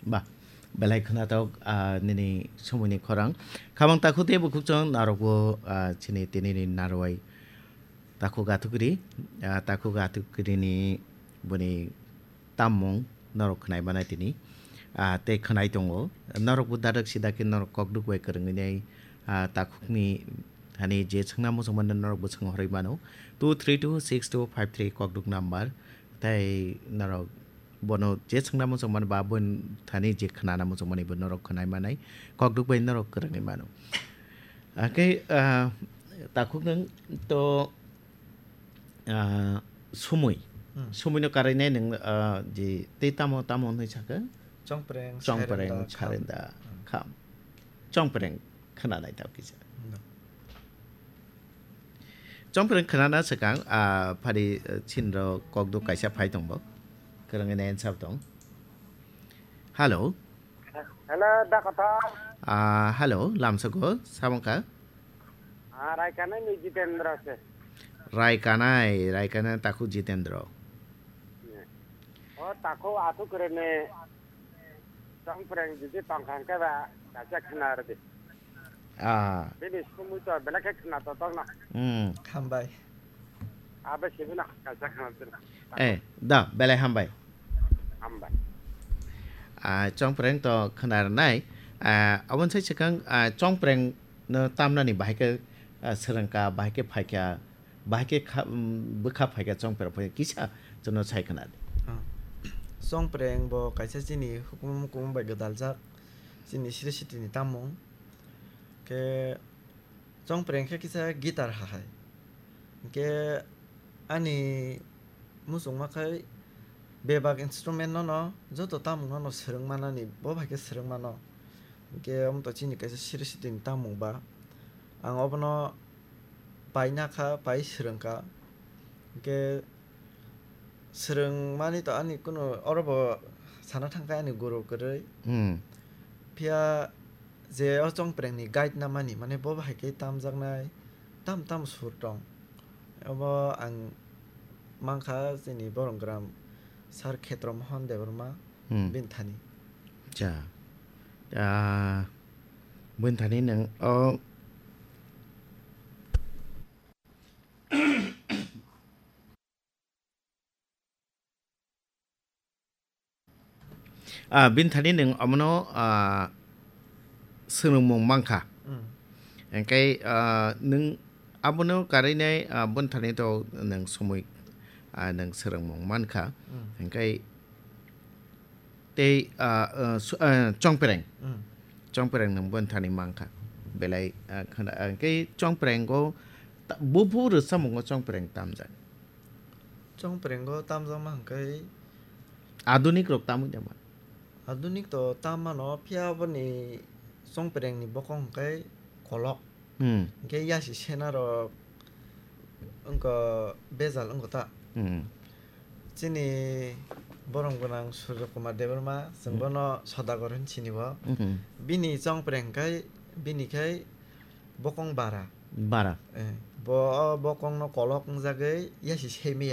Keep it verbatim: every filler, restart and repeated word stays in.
Ba, belai khwnathok, ah, nini somoini khorang. Khamang takhuk tei bukhuk chwng narwkbo, ah, chini tinini narwai takhuk athukri, ah, takhuk athukrini boni tammung norok khwnai manai tini, ah, tei khwnai tongo. Norokbo dadak sida khe norok kokduk bai kwrwngwi nai, ah, takhukni thani je swngna muchungmani norokbo swng horwi mano. Two three two six two five three kokduk number. Tei norok bono je swngna muchungmani ba boni thani je khwnana muchungmani bo norok khwnai manai, kokduk bai norok kwrwngwi mano. Hakhe, ah, takhuk nwng to, ah, sumui. Hmm. Sumui no karinai nwng, ah, je tei tamo, tamo hwnwi sakha? Chongpreng, Chongpreng, Kharenda, Kharenda, Kham. Kham. Chongpreng khwnanai tao kisa. No. Chongpreng khwnana swkang, ah, phari, ah, chinro kokduk kaisa phai tongbo. Kwrwngwi nai answer tong. Hello. Hello, da kothok. Ah, hello, lamsoko, samongkha? Ah, Raikanai ni Jitendra se. Raikanai, Raikanai takhuk Jitendra. O takhuk athukrini Chongpreng jiji tongkha hwnkhe ba kaisa khwna rwdi. Ah. Bini sumui to belai khe khwna to tongno. Hmm. Hambai. Abo sibino kaisa khwna tongno. Eh, da, belai hambai. Hambai. Ah, Chongpreng to khwna rwnai. Ah, aboni sai swkang, ah, Chongpreng no tamnani bahai khe, ah, swrwngkha, bahai khe phaikha, bahai khe kha-, um, bwkha phaikha Chongpreng phai kisa chwngno sai khwna di. Ah. Chongpreng bo kaisa chini hukumu mukumu bai gwdaljak, chini siri sitini tamung. Khe Chongpreng khe kisa guitar hahai. Hinkhe ani muchungma khai bebak instrument no no joto tamung no no swrwng manani bo bai khe swrwng mano. Hinkhe omo to chini kaisa siri sitini tamung ba. Ang obono paina kha, pai swrwng kha. Hinkhe swrwng mani to ani kunu oro bo sana thang kha ani guru kwrwi. Hmm. Phiya je o Chongpreng ni guide na mani, mane bo bahai khe tamjaknai tam tam sur tong. Obo ang mankha chini Boronggram Sir Khetromohon Debbarma Hmm. bini thani. Cha. Ah, bini thani nwng o Ah, bini thani nwng omono, ah, swrwngmung mankha. Mm. Hingkhe, ah, nwng abono karinai, ah, bini thani to nwng somoi, ah, nwng swrwngmung mankha. Mm. Hingkhe tei, ah, ah, su-, ah, Chongpreng. Mm. Chongpreng nwng bini thani mankha. Belai, ah, khwna, ah, hingkhe Chongprengo ta-, bubu rwchapmungo Chongpreng tamjak. Chongprengo tamjakma hwnkhe Adunik rok tamwi naima? Adunik to tam mano, phiya boni Chongprengni bokong hwnkhe kolok. Hmm. Hwnkhe yasi sena rok wngkha bejal wngkha ta. Hmm. Chini borom gwnang Surjo Kumar Debbarma, chwng Hmm. bono Sodagar hwn sini bo. Hmm. Bini Chongpreng hwnkhe bini khai bokong bara. Bara. Eh, bo, o bokongno kolok wngjagwi yasi semi